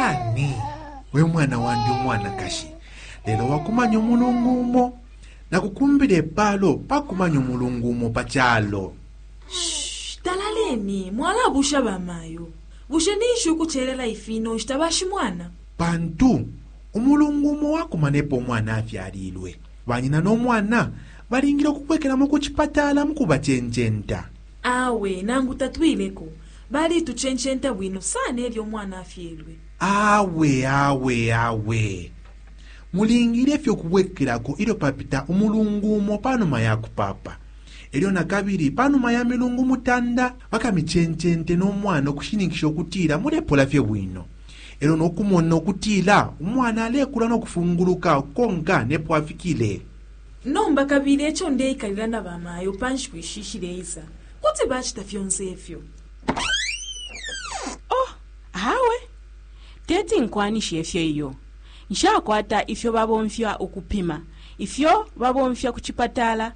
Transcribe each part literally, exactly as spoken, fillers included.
Shani we mwana wandi umwanakashi, lelo wakumanya umulungu umo, nakukumbila ipalo pakumanya umulungu umo pa calo. Shh, talaleni mwalabusha bamayo. Bushe ninshi ukucelela ifino nshita bashimwana? Pantu umulungu umo wakumanepo umwana afyalilwe, banyina no mwana balingile ukubwekelamo ku cipatala mu kubacencenta. Awe nangu tatwileko, balitucencenta bwino sana elyo umwana afyelwe. Awe awe awe, mulingile fye ukubwekelako ilyo papita umulungu umo panuma ya kupapa. Elyo na kabili panuma ya milungu mutanda bakamicencente no mwana ukushininkisha ukutila mulepola fye bwino, elyo nokumona ukutila umwana alekula no kufunguluka konka nepo afikile. Nomba kabili eco ndeikalila na bamayo pa nshiku ishi ishileisa, kuti bacita fyonse ifyo. Oh, awe teti nkwanishe ifyo iyo. Nshakwata ifyo babomfya ukupima, ifyo babomfya ku cipatala.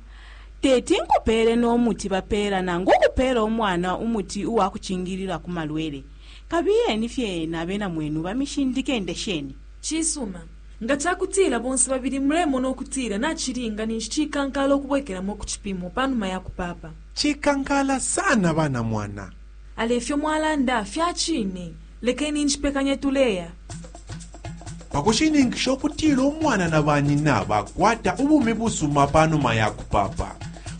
Teti nkupele no muti bapeela nangu ukupeela umwana umuti uwa kucingilila ku malwele. Kabiyeni fye na bena mwenu bamishindike ndesheni. Cisuma, nga cakutila bonse babili mulemona ukutila nacilinga, ninshi cikankala ukubwekelamo ku cipimo panuma ya kupapa. Cikankala sana bana mwana. Ale ifyo mwalanda fyacine, lekeni nshipekanye tuleya. Pakushininkisha ukutila umwana na banyina bakwata ubumi busuma panuma ya kupapa,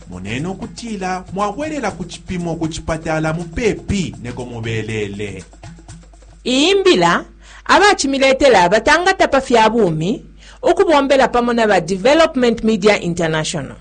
moneni ukutila mwabwelela ku cipimo ku cipatala mupepi neko mubelele. Iyi mbila abacimiletela batangata pa fya bumi ukubombela pamo na ba Development Media International.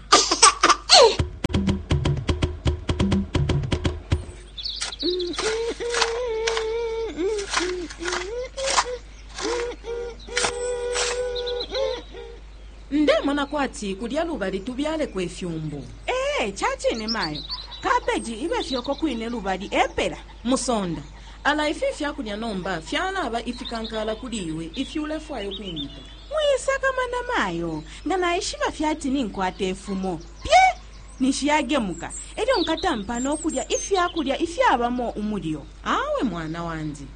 Ndemona kwati kulya lubali tubyaleko ifyumbu. Ee, cacine mayo, kabeji ibe fyoko kwine lubali epela. Musonda ala ifi fyakulya nomba fyalaba ifikankala kuli iwe ifi ulefwaya ukwimita. Mwisakamana mayo, nga naishiba fyati ninkwata ifumo pye ninshi yagemuka, elyo nkatampa nokulya ifyakulya ifyabamo umulyo. Awe mwana wandi,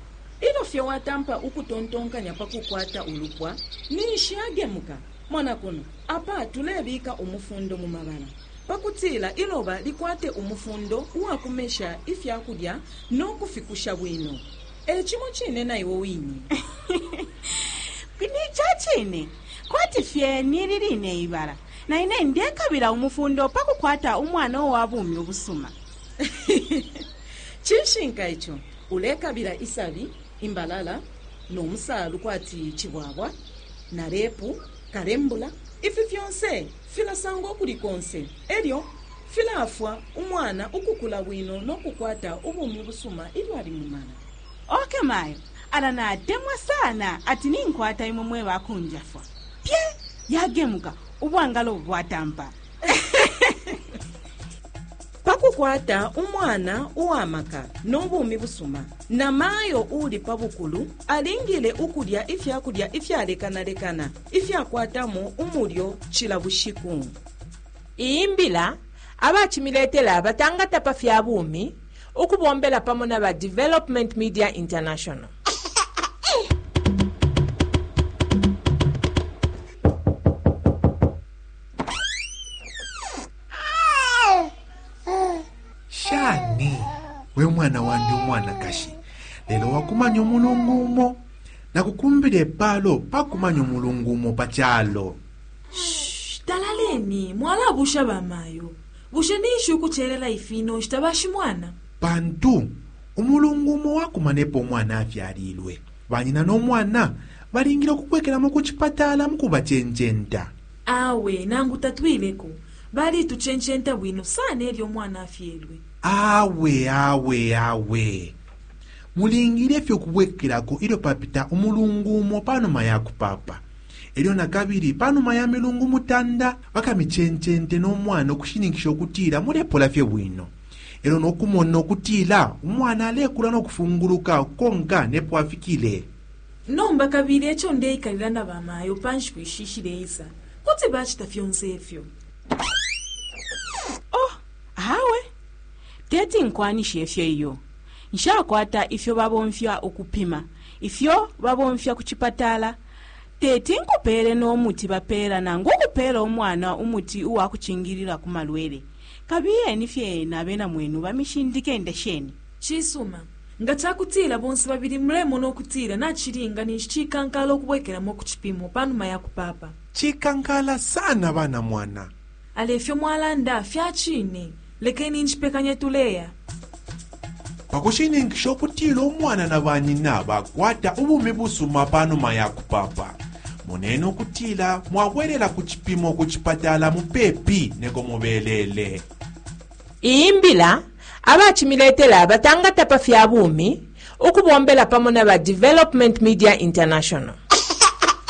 ilyo fye watampa ukutontonkanya pa kukwata ulupwa ninshi yagemuka. Mona kuno apa tulebika umufundo mu mabala pakutila iloba likwate umufundo uwakumesha ifyakulya no kufikusha bwino. E cimo cine na iwe wine. Ni cacine kwati fye nili line ibala, na ine ndekabila umufundo pa kukwata umwana uwa bumi ubusuma. Cishinka ico, ulekabila isabi, imbalala no musalu kwati cibwabwa na repu kalembula. Ifi fyonse filasangwa ukuli konse, elyo filafwa umwana ukukula bwino no kukwata ubumi busuma ilyo ali mumala. Okay mayo, ala natemwa sana ati ninkwata imwe mwe bakunjafwa. Pye yagemuka ubwangalo bwatampa. Pakukwata umwana uwamaka no bumi busuma, na mayo uli pa bukulu alingile ukulya ifyakulya ifyalekanalekana ifyakwatamo umulyo cila bushiku. Iyi mbila abacimiletela batangata pa fya bumi ukubombela pamo na ba Development Media International. Shani we mwana wandi umwanakashi, lelo wakumanya umulungu umo, nakukumbila ipalo pakumanya umulungu umo pa calo. Shh, talaleni mwalabusha bamayo. Bushe ninshi ukucelela ifino nshita bashimwana? Pantu umulungu umo wakumanepo umwana afyalilwe, banyina no mwana balingile ukubwekelamo ku cipatala mu kubacencenta. Awe nangu tatwileko, balitucencenta bwino sana elyo umwana afyelwe. Awe awe awe, mulingile fye ukubwekelako ilyo papita umulungu umo panuma ya kupapa, elyo na kabili panuma ya milungu mutanda bakamicencente no mwana ukushininkisha ukutila mulepola fye bwino, elyo nokumona ukutila umwana alekula no kufunguluka konka nepo afikile. Nomba kabili eco ndeikalila na bamayo pa nshiku ishi ishileisa, kuti bacita fyonse ifyo. Oh, awe teti nkwanishe ifyo iyo. Nshakwata ifyo babomfya ukupima ifyo babomfya ku chipatala. Teti nkupele no muti bapeela nangu ukupeela umwana umuti uwa kucingilila ku malwele. Kabiyeni fye na bena mwenu bamishindike ndesheni. Cisuma, nga cakutila bonse babili mulemona ukutila nacilinga, ninshi cikankala ukubwekelamo ku cipimo panuma ya kupapa. Cikankala sana, bana mwana. Ale ifyo mwalanda fyacine. Lekeni ncipekanye, tuleya. Pakushininkisha ukutila umwana na banyina bakwata ubumi busuma panuma ya kupapa, moneni ukutila mwabwelela ku cipimo ku cipatala mupepi neko mubelele. Iyi mbila abacimiletela batangata pa fya bumi ukubombela pamo na ba Development Media International.